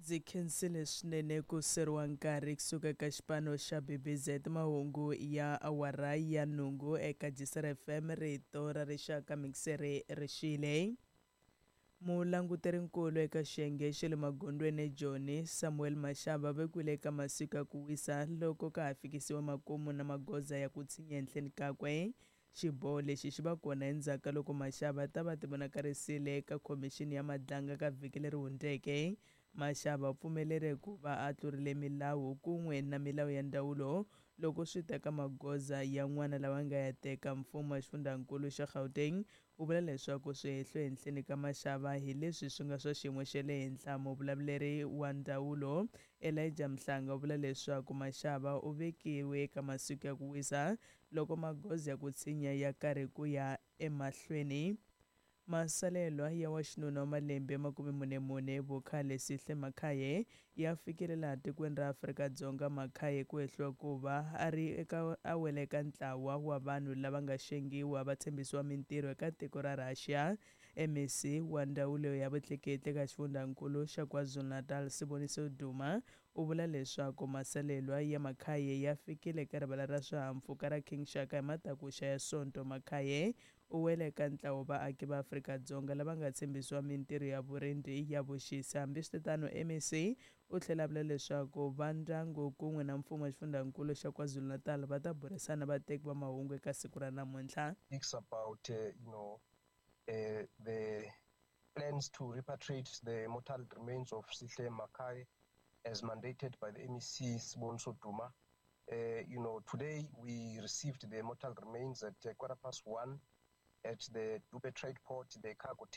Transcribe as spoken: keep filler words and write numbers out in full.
Ndzi khensile swinene ku seriwa nkarhi kusuka ka xipano xa B B Z. Mahungu ya awara ya nhungu eka Gisela F M, rito ra rixaka. Mixere rixile. Mulanguterinkulu eka xiyenge xa le magondzweni eJoni, Samuel Mashaba, vekiwile eka masiku ya ku wisa loko ka ha fikisiwa makumu na magoza ya ku tshinya henhleni kakwe. Xiboho lexi xi va kona endzhaku ka loko Mashaba ta va tivonakarisile eka khomixini ya Madlanga ka vhiki leri hundzeke. Mashaba u pfumeleri ku va a tlurile milawu kun'we na milawu ya ndzawulo loko swi ta ka magoza yan'wana lawa nga ya teka. Mfumo wa xifundzankulu xa Gauteng wu vula leswaku swihehlo henhleni ka Mashaba hi leswi swi nga swa xiyimo xa le henhla. Muvulavuleri wa ndzawulo Elijah Mhlanga u vula leswaku Mashaba u vekiwe eka masiku ya ku wisa loko magoza ya ku tshinya ya karhi ku ya emahlweni. Masalelwa ya wa xinuna wa malembe makume mune mune vukhale, Sihle Makhaye, ya fikile laha tikweni ra Afrika-Dzonga. Makhaye ku hehliwa ku va a ri eka a wela eka ntlawa wa vanhu lava nga xengiwa va tshembisiwa mintirho eka tiko ra Russia. M E C wa ndzawulo ya vutleketli eka xifundzankulu xa KwaZulu-Natal, Siboniso Duma, u vula leswaku masalelwa ya Makhaye ya fikile eka rivala ra swihahampfhuka ra King Shaka hi matakuxa ya Sonto. Makhaye u wele eka ntlawa vaaki va Afrika-Dzonga lava nga tshembisiwa mintirho ya vurindzi ya vuxisi. Hambiswiritano, M E C u tlhela a vula leswaku va ndyangu kun'we na mfumo wa xifundzankulu xa KwaZulu-Natal va ta burisana vateki va mahungu eka siku ra namuntlha. Speaks about uh, you know uh, the plans to repatriate the mortal remains of Sihle Makai as mandated by the M E C Siboniso Duma. Uh, you know, today we received the mortal remains at uh, quarter past one at the Dube Trade Port, the cargo